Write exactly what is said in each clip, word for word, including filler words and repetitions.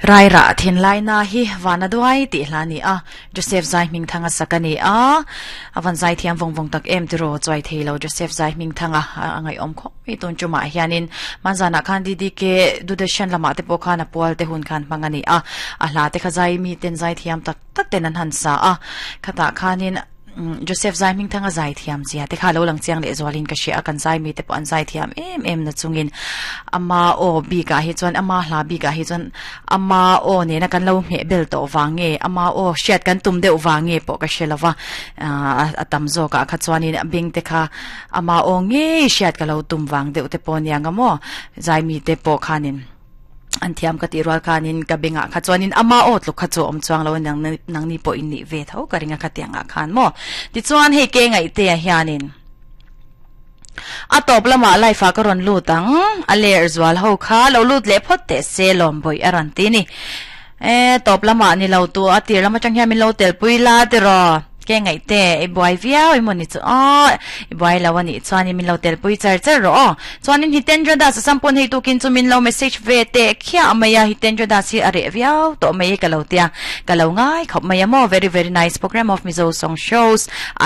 Rai ra thin lai na hi vana duai ti hla ni a Joseph Zai Hming Thanga sakani a avan zai thiam vong vong tak em tiro choi theilo Joseph Zai Hming Thanga angai om kho mi tun chuma hianin manzana khan D D K dudashan lama te po khan a pual te hun khan mangani a a hla te kha zai mi ten zai thiam tak tak ten an han sa a khata khanin Joseph Zai Hming Thanga zai thiam zia te kha lo lang chiang le zwalin ka hria kan zai mi te po an zai thiam em em na chungin ama o bi ka hi chuan ama hla bi ka hi chuan ama o ne na kan lo hme bel to wange ama o hriat kan tum deuh wange po ka hrelowa atam zo ka kha chuanin bing te kha ama o nge hriat ka lo tum wang deuh te po nianga mo zai mi te po khanin an thiam ka ti rual khanin ka benga kha chuanin ama o tluk kha chu om chuang lo nang nang ni po in ni ve tho ka ringa kha tianga khan mo ti chuan hei ke ngai te a hianin a top lama lai fa ka ron lu tang a ler zwal ho kha lo lut le phot te se lom boi aran ti ni e top lama ni lo tu a tir lama chang hian min lo tel pui la ti ro ke ngai te e boy viau i moni chu o i boy lawani chuan min lo tel pui char char ro chuan in Hitendra Das sampon hei tukin chu min lo message ve te khia maya Hitendra Das hi are viau to mai ka lo tia ka lo ngai khop maya mo very very nice program of Mizo song shows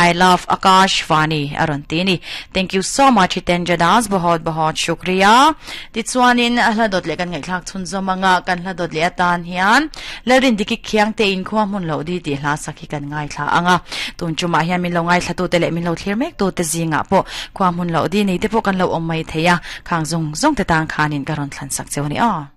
I love Akash Vani aron tini thank you so much Hitendra Das bahut bahut shukriya ti chuan in hla dot le kan ngai thlak chun zomanga kan hla dot le atan hian lerin diki khiang te in khwa mun lo di ti hla sakhi kan ngai thla anga tun chuma hian min lo ngai thla tu te le min lo thlir mek tu te zinga po khwa mun lo di nei te po kan lo om mai theya khang zong zong te tang khanin karon thlan sak chewni a.